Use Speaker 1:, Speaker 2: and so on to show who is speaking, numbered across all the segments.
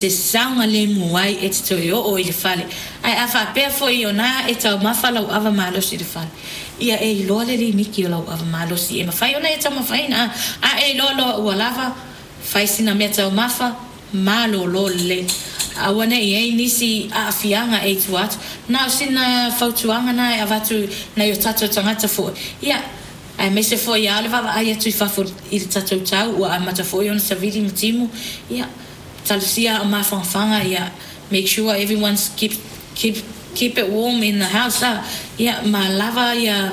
Speaker 1: Te saogalemu ai e te toe oo i le fale. Ae a faapea foi o na e taumafa lau ava malosi i le fale, ia e iloa le limiti o lau ava malosi e mafai ona e taumafaina. A, a e iloa loa ua lava, fai sina mea taumafa, malolo lelei. Aua ne i i ai nisi aafiaga e i tua atu. Na o sina fautuaga na e avatu i nai o tatou tagata foi, ia, aemaise foi lava o le vaavaai atu i fafo i le tatou tau ua amata foi ona savili ma timu, ia, talosia a o mafanafana ia make sure everyone's keep keep keep it warm in the house a ia ma lava ia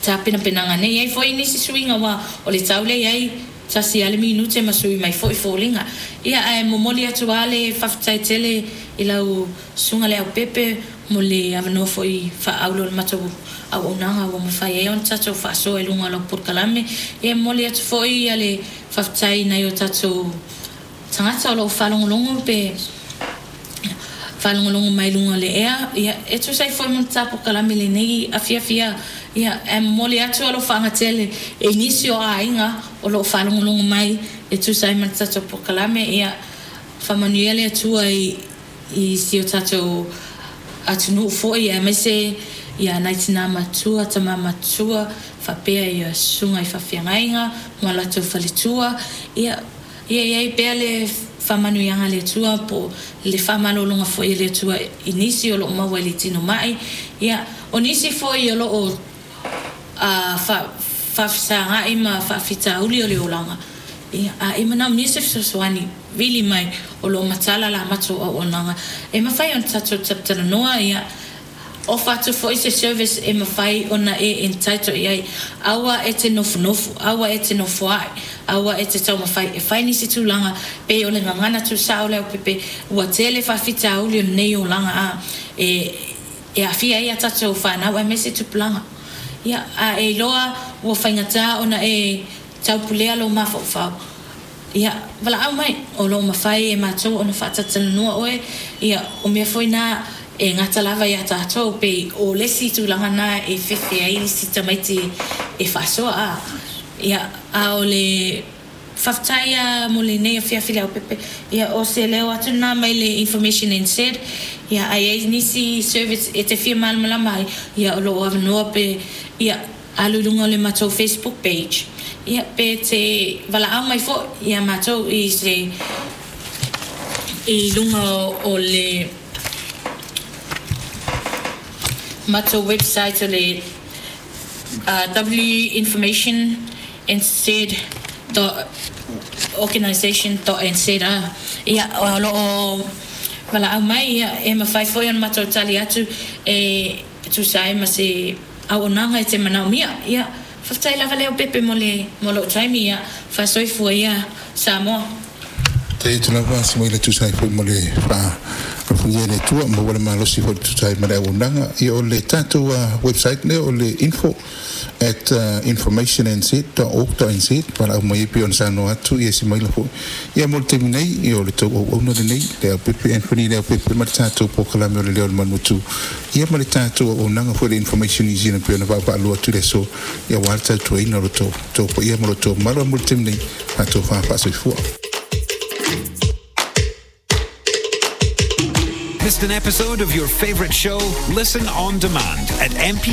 Speaker 1: tapenapenaga nei ai foi nisi suiga aua o le tau lea iai tasi a le minute ma sui mai foi foliga ia ae momoli atu a le faafetai tele i lau susuga Leaupepe mo le avanoa foi faaauro o le matou auaunaga ua mafai ai ona tatou faasoa i luga o lau polokalame ia momoli atu foi ia le faafetai i nai o tatou Tagata o lo o faalogologo pe faalogologo mai luga o le ea, ia, e tusa ai foi ma le ta polokalame i lenei afiafi a, ia, ae momoli atu alofaaga tele i nisi o aiga o lo o faalogologo mai e tusa ai ma le tatou polokalame, ia, faamanuia le Atua i, i si o tatou atunuu foi aemaise ia nai tina matua, tama matua, faapea ia susuga i faafeagaiga ma latou faletua, ia, Ia i ai pea le faamanuiaga a le Atua po o le faamalologa foi a le Atua i nisi o lo o maua i le tino mai. Ia, o nisi foi o lo o faafesagai ma faafitauli o le olaga, ia, a e manaomia se fesoasoani, vili mai, o lo o matala la matou auaunaga e mafai ona tatou talatalanoa, ia, Ofa atu foi se service e mafai ona e entitle i ai. Aua e te nofonofo, aua e te nofoa'i, aua e te taumafai e fai nisi tulaga pei o le gagana tuusao o le aupepe, ua tele faafitauli o lenei olaga a e e aafia ai a tatou fanau aemaise tupulaga. Ia, a e iloa ua faigata ona e taupulea lou mafaufau, Ia, valaau mai, o lo o mafai e matou ona faatalatalanoa oe, ia, o mea foi na e gata lava iā tatou, pei o le isi tulaga na e fefe ai isi tamaiti e faasoa, a, ia, a o le faafetai lava mo lenei afiafi Leaupepe, ia, o se leo atu lena mai le Information NZ, ia, a i ai nisi service e te fia malamalama ai, ia, o lo o avanoa pe, ia, Alu i luga o le matou Facebook page ia pe te valaau mai foi ia matou i se i luga o le matou website o le winformationnz dot organisation dot nz ia o lo o valaau mai ia e mafai foi ona matou tali atu e tusa ai ma se auaunaga e te manaomia. Ia, faafetai lava Leaupepe mo le mo lou taimi, ia, faasoifua ia Samoa.
Speaker 2: Faafetai atu lava Simaila e tusa ai foi mo le faalofagia e le Atua, maua le malosi foi e tusa ai ma le auaunaga. Ia o le tatou website lea o le info at informationnz dot org dot nz valaau mai ai pei ona saunoa atu ia Simaila foi. Ia mo le taimi nei, ia o le tou auauna lenei, Leaupepe Anthony Leaupepe ma le tatou polokalame o le Leo o le Manuatu. Ia ma le tatou auaunaga foi le Information New Zealand pei ona vaavaalua atu i le aso, ia aua le tautuaina o lo outou paia ma lo outou mamalu. A mo le taimi nei, faatofa faasoifua.
Speaker 3: Missed an episode of your favorite show? Listen on demand at mp.